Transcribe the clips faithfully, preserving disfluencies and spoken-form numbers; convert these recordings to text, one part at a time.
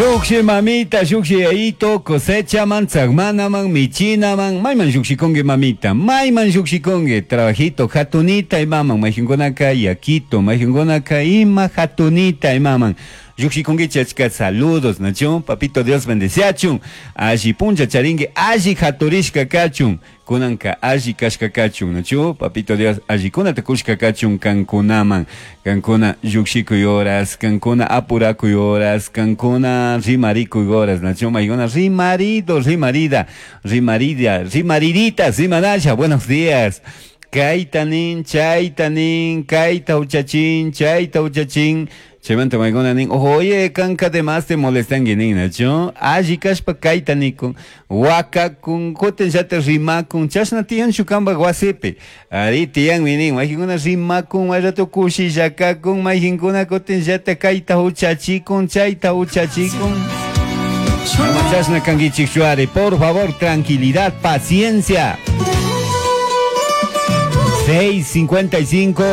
Lluqshi mamita, lluqshi yayito, cosechaman, tzagmanaman, michinaman, mayman lluqshikunki mamita, mayman lluqshikunki, trabajito, hatunita imaman, mayqinkunaka yakito, mayqinkunaka ima hatunita imaman. Lluqshikunkichik achka saludos, nachu, papito Dios bendeciachun, alli puncha charinki, alli haturishka kachun, kunanka alli kashka kachun, nachu, papito Dios allikunata kushka kachun kankunaman, kankuna lluqshikuy horas, kankuna apurakuy horas, kankuna rimarikuy horas, nachu, maykuna rimarido, rimarida, rimarida, rimaridita, rimanasha, buenos días. Kayta nin, chayta nin, kayta huchachin, chayta huchachin. Chaymanta maykuna nin, oye, kanka además te molestanki nin, nachu? Alli kashpa kayta nikun, wakakun, kutin llata rimakun, chashna tiyanchu kanpak wasipi. Ari tiyanmi nin, mayqinkuna rimakun, may rato kushilla kakun, mayqinkuna kutin llata kayta huchachikun, chayta huchachikun. Ama chashna kankichikchu ari, por favor, tranquilidad, paciencia. seis cincuenta y cinco,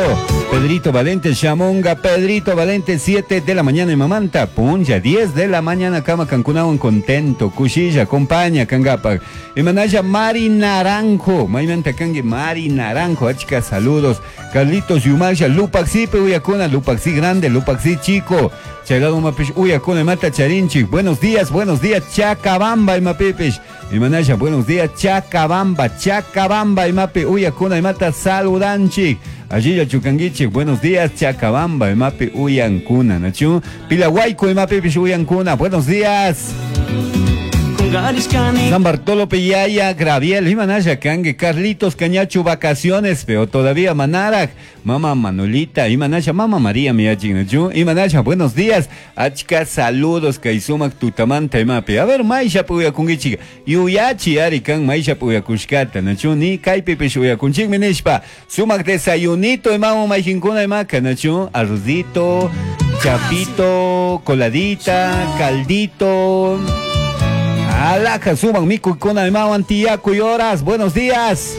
Pedrito Valente, Chamonga, Pedrito Valente, siete de la mañana en Mamanta, Punja, diez de la mañana, Kama Cancunawan, contento, Cuchilla, compañía, Cangapa, Emanaya, Mari Naranjo, Maymanta Kangue, Mari Naranjo, achka, saludos, Carlitos Yumasha, Lupaxi, Uyacuna, Lupaxi grande, Lupaxi chico, Chaylado Mapish, Uyacuna, Mata Charinchi, buenos días, buenos días, Chacabamba, Imapipish, Imanaya, buenos días, Chacabamba, Chacabamba, Imapi, Uyacuna, Imata, saludanchi. Allí ya chucanguichi, buenos días, Chacabamba, Imapi, Uyancuna, Nachu, Pilahuayco, Imapipish, Uyancuna, buenos días. San Bartolo Pillaya, Graviel, Imanaya, Cangue, Carlitos, Cañachu, vacaciones, pero todavía Manaraj, Mama Manolita, Imanaya, Mama María, mi Nachu, Imanaya, buenos días, Achka, saludos, Kaisumak, Tutamanta, Imapi, a ver, Maisha, Puyakungichi, Yuyachi, Arikan, Maisha, Puyakushkata, Nachu, ni Kaipipish, Uyakunchik, Minishpa, Sumak, desayunito, Imamo, Maijinkuna, Imaka, Nachu, arrozito, chapito, coladita, caldito. Alaja, suban mikuykuna imawan tiyakuy horas. Buenos días.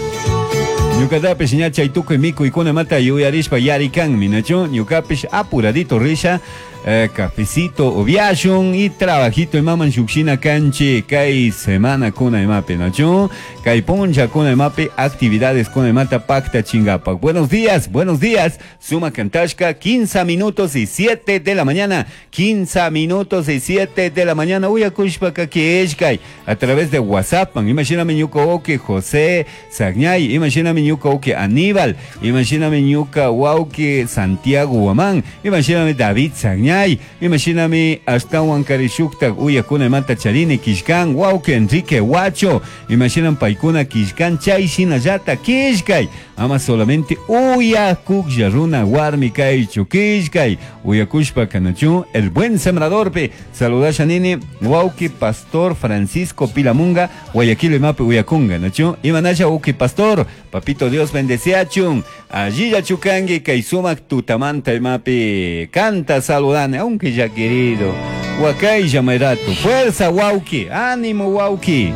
Ñuqatapish ña chay tukuy mikuykuna mata yuyarishpa yarikanmi, nachu? Ñuqapish apuradito risha, eh, cafecito upiashun y trabajito imaman lluqshina kanchik kay semana kuna imapi, nachu? Kay puncha kuna imapi actividades kuna imata pacta chingapak. Buenos días, buenos días. Suma Kantashka, quince minutos y siete de la mañana. quince minutos y siete de la mañana. Uyakushpa kakishkay a través de WhatsApp. Imagíname ñuka wawki José Sagñay, imagíname ñuka wawki Aníbal, imagíname ñuka wawki Santiago Guamán, imagíname David Sagñay, imagíname ashtawan karishuktak uyakuna imata charini kishkan wawki Enrique Huacho, imaginan paykuna kishkan chay shinallata kishkay, ama solamente uyakuklla runa warmi kaychu kishkay, uyakushpa kanachu el buen sembradorpi, saludasha nini wawki Pastor Francisco Pilamunga, Guayaquil imapi uyakunga, nachu, imanasha wawki Pastor, papito Dios bendeciachun, allí ya chukangi kay sumak tutamanta imapi, canta saludane, aunque ya querido, wakaylla mayrato, fuerza wawki, ánimo wawki.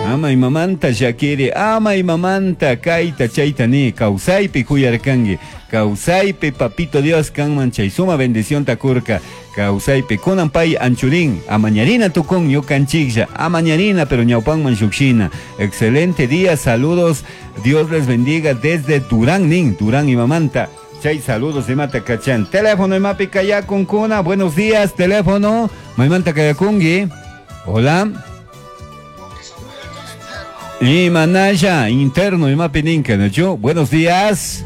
Ama imamanta shakiri, ama imamanta kayta chayta ni, kawsaypi kuyarkanki, kawsaypi papito Dios kanman chay suma bendición takurka, kawsaypi kunan pay anchurín, amañarina tukun ñukanchiklla, amañarina pero ñawpanman shukshina. Excelente día, saludos, Dios les bendiga desde Durán nin, Durán imamanta. Chay saludos imata kachan. Teléfono imapi kayakun kuna, buenos días, teléfono, maymanta kayakungi. Hola. Imanaya, interno, imapi ninka, ¿no? Buenos días.